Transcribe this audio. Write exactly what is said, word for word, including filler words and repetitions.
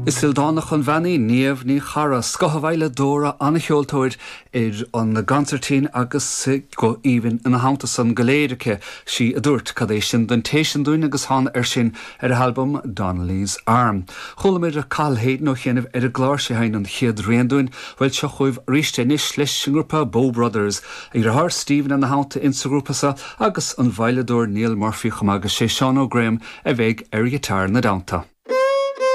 Is ildánach an bhean í Niamh Ní Charra scothveidhleadóir an-cheoltóir ar an gconsairtín agus guth aoibhinn ina theannta san go léir aici sí a dúirt cad é sin don té sin dúinn agus thána ar sin ar a halbum Donnelly's Arm. Chualamar Cathal Hayden ó chianaibh ar an gclár sé sheinn an chéad rian dúinn, bhuel seo chugaibh arís anois leis an ngrúpa Bow Brothers, a dheartháir Stephen ina theannta insa ghrúpa seo agus an veidhleadóir Neil Murphy chomh maith agus sé Seán Ó Graham a bheidh ar ghiotár ina dteannta.